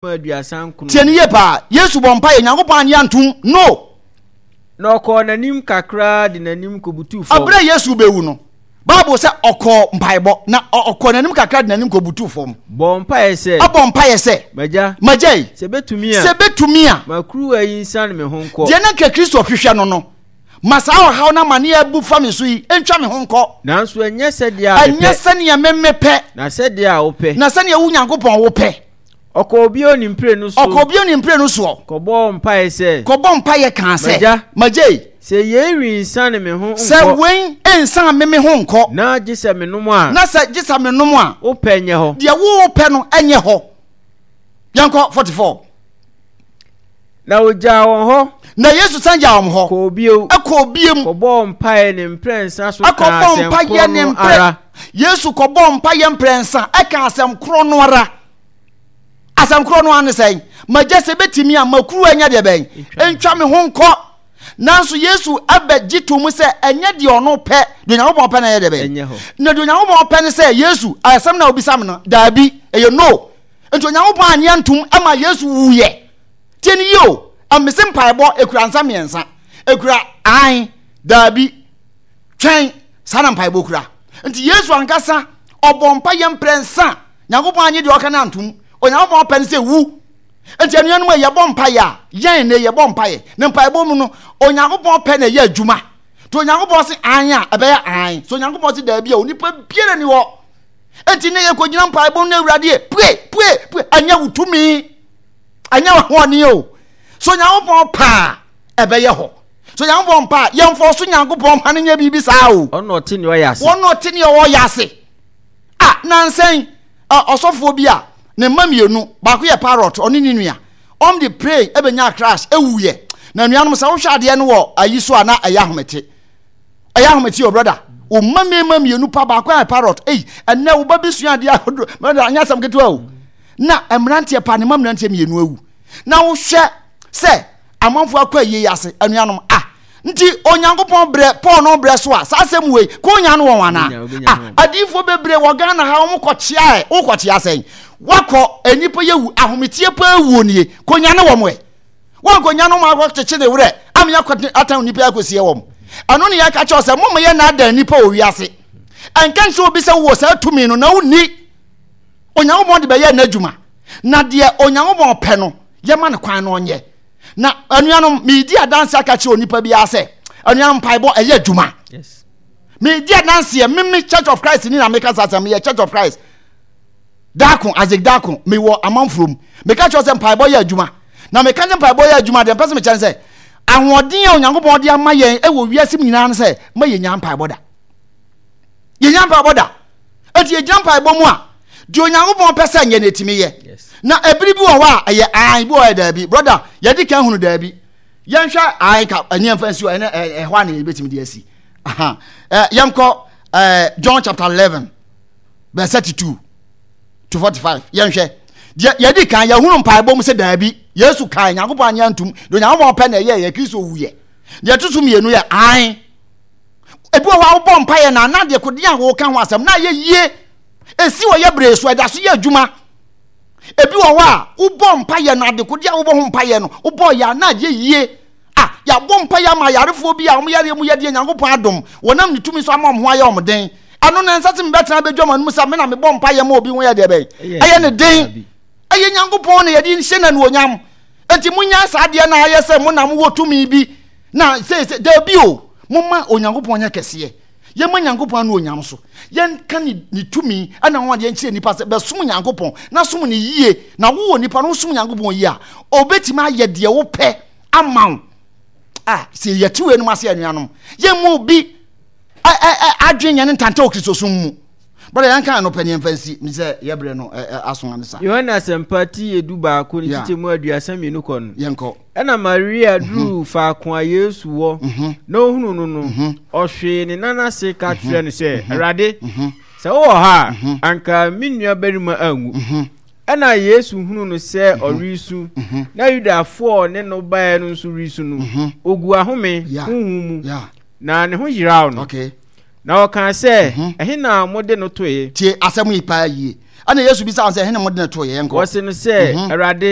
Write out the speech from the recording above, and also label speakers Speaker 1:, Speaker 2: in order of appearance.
Speaker 1: 39.
Speaker 2: Tie no yie paa. Yesu bɔ mpaeɛ, Nyankopɔn annye antom. No!
Speaker 1: Na ɔkɔɔ n'anim kakra de n'anim kɔbutuu fam.
Speaker 2: Ɛberɛ a Yesu rebɛwu no, Bible sɛ ɔkɔɔ mpaebɔ, na ɔkɔɔ n'anim kakra de n'anim kɔbutuu fam.
Speaker 1: Bɔɔ mpaeɛ sɛ.
Speaker 2: Ɔbɔɔ mpaeɛ sɛ.
Speaker 1: M'agya.
Speaker 2: M'agya yi.
Speaker 1: Sɛ ɛbɛtumi a.
Speaker 2: Sɛ ɛbɛtumi a.
Speaker 1: Ma kuruwa yi nsiane me ho nkɔ.
Speaker 2: Deɛ na anka Kristo hwehwɛ no no, ma saa ɔhaw no amaneɛ a abu fa me so yi ntwa me ho nkɔ.
Speaker 1: Nanso ɛnyɛ sɛdeɛ a mepɛ.
Speaker 2: Ɛnyɛ sɛdeɛ me mepɛ.
Speaker 1: Na sɛdeɛ a wopɛ.
Speaker 2: Na sɛdeɛ wo Nyankopɔn wopɛ.
Speaker 1: Ɔkɔɔ bio ne mprenu so.
Speaker 2: Ɔkɔɔ bio ne mprenu soɔ.
Speaker 1: Kɔbɔɔ mpaeɛ sɛ.
Speaker 2: Kɔbɔɔ mpaeɛ kaa sɛ.
Speaker 1: M'agya.
Speaker 2: M'agya ei.
Speaker 1: Sɛ yei rensiane me ho nkɔ.
Speaker 2: Sɛ wei nsiane me me ho nkɔ.
Speaker 1: Na gye sɛ menom a.
Speaker 2: Na sɛ gye sɛ menom a.
Speaker 1: Wo pɛ nyɛ hɔ.
Speaker 2: Deɛ wo pɛ no nyɛ hɔ. Yɛnkɔ 44.
Speaker 1: Na ɔgyaa wɔn hɔ.
Speaker 2: Na Yesu san gyaa wɔn hɔ.
Speaker 1: Kɔɔ bio.
Speaker 2: Kɔɔ bio.
Speaker 1: Kɔbɔɔ mpaeɛ ne mprɛnsa so kaa asɛm korɔ no ara.
Speaker 2: Yesu kɔbɔɔ mpaeɛ mprɛnsa ɛkaa asɛm korɔ no ara. Asɛm korɔ no ara ne sɛn? Magya sɛ bɛtumi a ma kuruwa nyɛ deɛ bɛn? Ntwa me ho nkɔ. Nanso Yesu abɛgye to mu sɛ ɛnyɛ deɛ ɔno pɛ, deɛ Onyankopɔn pɛ na ɛyɛ deɛ bɛn? Na deɛ Onyankopɔn pɛ ne sɛ Yesu, asɛm na obisa me no, daabi, ɛyɛ no. Nti Onyankopɔn anyɛ ntom ma Yesu wuyɛ. Tie ne yie o, mese mpaebɔ ekura nsa mmiɛnsa. Ekura ae, daabi, twɛn, saa na mpaebɔ kura. Nti Yesu ankasa ɔbɔ mpa yɛ mprɛnsa. Nyankopɔn anye deɛ ɔka no antom. Onyankopɔn pɛ no sɛ wu. Nti anuanom a yɛbɔ mpaeɛ a, yɛn ne yɛbɔ mpaeɛ. Ne mpaebɔ mu no, Onyankopɔn pɛ na ɛyɛ adwuma. Nti Onyankopɔn se ae a, ɛbɛyɛ ae. So Onyankopɔn se daabi a, onipa biara ni hɔ. Nti ne yɛkɔgyina mpaebɔ mu no Awurade pue, pue, pue. Ɛnyɛ wo tumi. Ɛnyɛ w'ahoɔden o. So Onyankopɔn pɛ a, ɛbɛyɛ hɔ. So Onyankopɔn pɛ a, yɛmfa so Nyankopɔn ma no nyɛ biribi saa o.
Speaker 1: Ɔno ɔte nea ɔyɛ ase.
Speaker 2: Ɔno ɔte nea ɔyɛ ase. A nansa yi, ɔsɔfoɔ bi a ne mma mmienu, baako yɛ parrot, ɔne ne nua, wɔn de plane ɛbɛnya crash ɛwuiɛ. Na nuanom sɛ wohwɛ adeɛ no wɔ ayi so a na ɛyɛ ahomete. Ɛyɛ ahomete o brother. Wo mma mmarima mmienu pa baako yɛ parrot. Ei, ɛnɛ wo ba bi sua adeɛ ahodoɔ. Brother, anyɛ asɛm ketewa o. Na mmeranteɛ pa ne mma mmeranteɛ mmienu awu. Na wohwɛ sɛ amanfoɔ akɔ ayie yi ase anuanom ah nti onyankopɔn brɛ paul no brɛ so a saa asɛm wei ko nya no wɔn anaa ah adiifoɔ bebree wɔ ghana ha wɔn kɔkyea ɛ wokɔkyea sɛn wakɔ nnipa yɛ wu ahometie paa wuo nie konya ne wɔn ɛ wɔn konya no wɔn akɔkyekye ne werɛ ama yɛakɔ atan nnipa akɔsie wɔn ɛno ne yɛka kyerɛ sɛ moma yɛ naadaa nnipa wɔ wiase ɛnka nkyerɛ obi sɛ wowɔ saa tumi no na wonni Onyankopɔn de bɛyɛ n'adwuma, na deɛ Onyankopɔn pɛ no, yɛma no kwan na ɔnyɛ. Na anuanom, meredi adanse aka kyerɛ onipa biara sɛ, anuanom mpaebɔ ɛyɛ adwuma.
Speaker 1: Yes.
Speaker 2: Meredi adanseɛ, meme Church of Christ ni na meka saa sɛ meyɛ Church of Christ. Daako, Isaac Daako, mewɔ amanfoɔ mu. Meka kyerɛ sɛ mpaebɔ yɛ adwuma. Na meka sɛ mpaebɔ yɛ adwuma deɛ mpɛ sɛ mekyɛ ne sɛ, ahoɔden a Onyankopɔn de ama yɛn wɔ wiase mu nyinaa no sɛ, ma yɛnya mpaebɔ da. Yɛnya mpaebɔ da. Enti yɛgyina mpaebɔ mu a, deɛ Onyankopɔn pɛ sɛ nyɛ no ɛtumi yɛ. Na ɛbere bi wɔ hɔ a ɛyɛ ae, bi wɔ hɔ yɛ daabi. Brɔda, yɛde kan hunu daabi. Yɛnhwɛ ae ka ɛne ɛmfa nsi hɔ, ɛne ɛhɔ a na yɛbɛtumi de asi. Aha. Yɛnkɔ John chapter 11 verse 32 to 45. Yɛnhwɛ. Deɛ yɛdi kan yɛhunu mpaebɔ mu sɛ daabi. Yesu kae, Nyankopɔn anyɛ antum. Deɛ Onyankopɔn pɛ na ɛyɛ yɛ Kristo wuyɛ. Deɛ ɛto so mmienu yɛ ae. Ebi wɔ hɔ a wobɔ mpaeɛ na na deɛ kodeɛ a wɔka ho asɛm na ayɛ yie. Esi wɔ yɛ bere so ɛda so yɛ adwuma. Ebi wɔ hɔ a wobɔ mpaeɛ na ade kodeɛ a wobɔ ho mpaeɛ no wobɔ yɛ a na ayɛ yie. A yɛabɔ mpaeɛ ama ayarefoɔ bi a wɔn yareɛ mu yɛ deɛ Nyankopɔn adom wɔnam ne tumi so ama wɔn ho ayɛ wɔn den. Ɛno na ɛnsɛ sɛ mebɛtena abɛdwa m'anom sɛ me na mebɔ mpaeɛ ma obi ho yɛ deɛ bɛn ɛyɛ ne den. Ɛyɛ Nyankopɔn na yɛde hyɛ no anuonyam. Enti monyae saa adeɛ no a ayɛ sɛ mo na mowɔ tumi bi na seesei daabi o momma Onyankopɔn nyɛ kɛseɛ. Yɛma Nyankopɔn anuonyam so. Yɛnka ne, ne tumi ɛna ho adeɛ nkyerɛ nnipa sɛ bɛsom Nyankopɔn na som ne yie. Na wowɔ nipa no wosom Nyankopɔn yie a, ɔbɛtumi ayɛ deɛ wopɛ ama wo. Ah, sɛ yɛte wei nom ase anuanom, yɛmmu obi adwene nyɛ ne ntanta wɔ Kristosom mu. Brɔda yɛn kan no pɛ ne yɛn fa nsi mi sɛ yɛ brɛ no aso ane sa.
Speaker 1: Yohane Asɛmpa ti 11 ne kyekyɛ mu 32 kɔ no.
Speaker 2: Yɛn kɔ.
Speaker 1: Ɛna Maria duruu faako a Yesu wɔ na ohunuu no no, ɔhwee ne nan ase ka kyerɛɛ no sɛ, Awurade, sɛ wowɔ ha a, anka me nuabarima anwu. Ɛna Yesu hunuu no sɛ ɔresu, na Yudafoɔ a ɔne no baeɛ no nso resu no, oguu ahome honhom mu, na ne ho yeraw no.
Speaker 2: Okay.
Speaker 1: Na ɔkaa sɛ, mhm. Ɛhe na mode no toe?
Speaker 2: Tie asɛm yi paa yie. Ɛna Yesu bisa wɔn sɛ, Hene mo de no too yɛ? Yɛnkɔ.
Speaker 1: Wɔse no sɛ, Awurade.